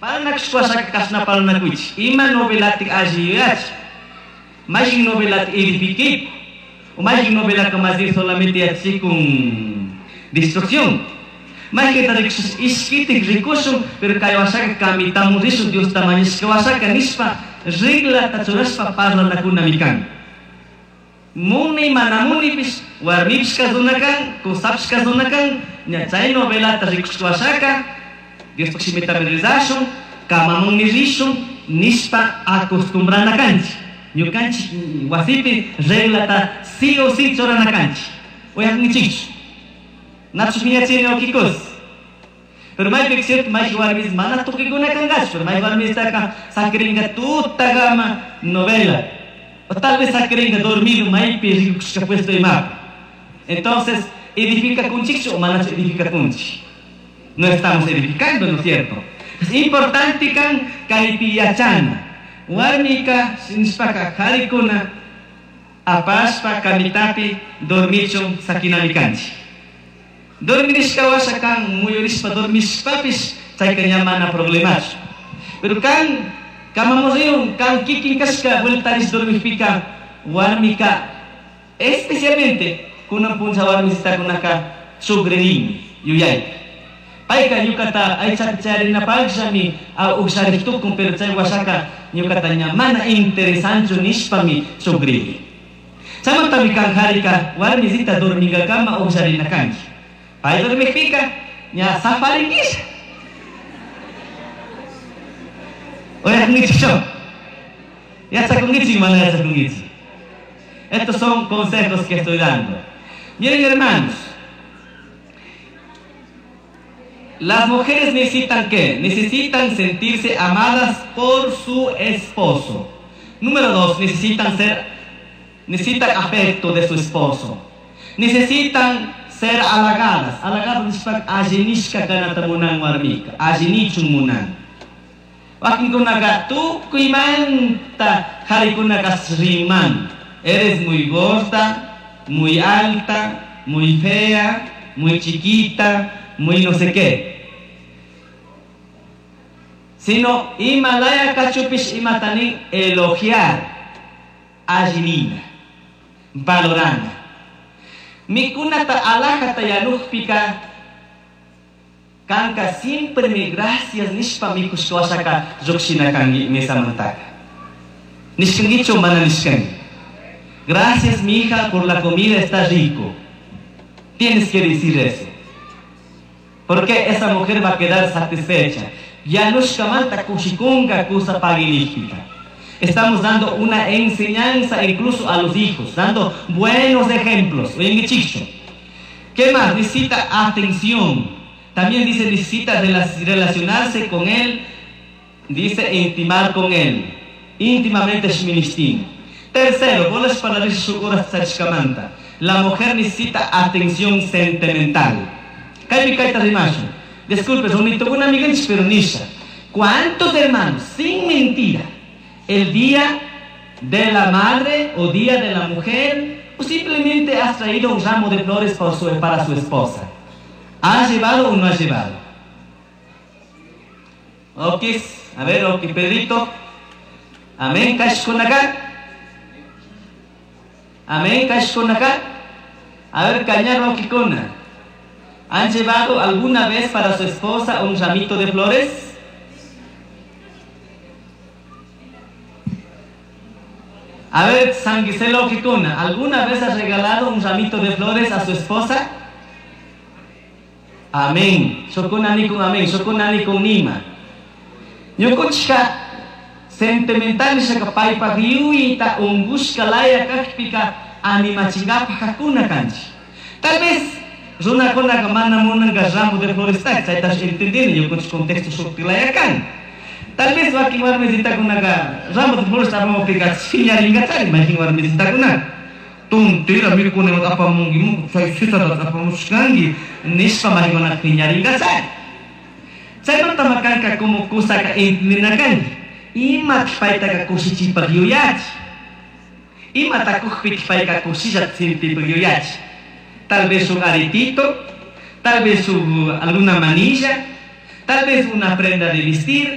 Parlanakushpa kashna parlanakuychik. Ima novelatik alli yuyachi. Mayqin novelata edifiquip. O mayqin novelaka más bien solamente yachachikun destrucción. Mayqinta rikushpa ishkitik rikushun, pero kay washaka kamitamun rishun Diosta mañashka washaka nishpa reglata churashpa parlanakunami kan. Muni mana munipish warmipish kasuna kan, kusapish kasuna kan, ña chay novelata rikushka washaka Diospaj shimitami rezashun, kamamunmi rishun nishpa acostumbrana kanchik. Ñukanchik wasipi reglata sí o sí churana kanchik. Uyakunkichikchu. Nachu phiñachini wakikus. Pero maypika cierto mayqa warmis mana tukikuna kankachu, pero mayqa warmistaka sakirinka tutakama novela. O tal vez sakirinka dormido maypi rikukushka puesto imapi. Entonces, edificakunchikchu o manachu edificakunchik. No estamos edificando, ¿no es cierto? Es importante kan kaypi yachana. Warmika nishpaka karikuna apashpa kamitapi dormichun sakinami kanchik. Dormirishka washa kan muyurishpa dormishpapish chayka ña mana problemachu. Pero kan kamamurriun kan kikin kashka vueltarish dormikpika warmika especialmente kunan puncha warmisitakunaka chugririnmi yuyaypi. Payka ñukata aychapi charinapaqllami uqllariq tukun, pero chay washaka ñukata ña mana interesanchu nishpami chugrini. Chaymantami kan harika warmisita dormingakama uqllarina kanki. Pay dormikpika ña safaringisha. Uyakunkichikchu? Yachakunkichik mana yachakunkichik. Estos son consejos que estoy dando. Miren, hermanos, las mujeres necesitan ¿qué? Necesitan sentirse amadas por su esposo. Número 2, necesitan afecto de su esposo. Necesitan ser halagadas. Halagadas nishpa allinishka kanata munan warmika, allinichun munan. Wakinkunaka tukuymanta qharikunaka riman. Eres muy gorda, muy alta, muy fea, muy chiquita, muy no sé qué. Sino imalaya kachupish imatani elogiar, allinina, valorana. Mikunata alajata yanukpika kanka siempre mi gracias nishpa mikushwashaka lluqshina kanki mesamantaka. Nishkankichu mana nishkanki. Gracias, mi hija, por la comida, está rico. Tienes que decir eso. Porque esa mujer va a quedar satisfecha. Yanushkamanta kushikunga kusa pagilijpika. Estamos dando una enseñanza incluso a los hijos, dando buenos ejemplos. Oye, ¿qué más? Necesita atención. También dice, necesita relacionarse con él. Dice, intimar con él. Íntimamente shministin. Tercero, bolas para sachkamanta. La mujer necesita atención sentimental. Kaypi kayta rimashu. Disculpe, una amiga pero nisha. ¿Cuántos hermanos, sin mentira, el día de la madre o día de la mujer, o simplemente has traído un ramo de flores para su esposa? ¿Ha llevado o no ha llevado? Ok, a ver, ok, Pedrito. Amén, kashkunaka. Amén, kashkunaka. A ver, cañar, okikuna. ¿Han llevado alguna vez para su esposa un ramito de flores? A ver, San Giselo Okikuna, ¿alguna vez ha regalado un ramito de flores a su esposa? Amén. Shokuna ni con amén, shokuna ni con nima. Ñukunchika sentimental nishaka paypaq yuyayta unqushka laya kaqpika animachingapaq kakuna kanchik. Tal vez runakunaka mana munanka ramo de flores chaytash entendini ñukunchik contexto shukti laya kan. Tal vez wakin warmisitakunaka ramo de flores apamupika phiñarinqachari mayqin warmisitakunaka. Tontera mikunata apamunki muku chay sisatata apamushkanki nishpa mayqinkunaka phiñarinqachari. Chaymanta makanka como kusaka entendina kanki. Imataq paytaqa kushichipaq yuyachi. Imata kuqpitaq payqa kushillata sintipaq yuyachi. Tal vez un aretito, tal vez alguna manilla, tal vez una prenda de vestir.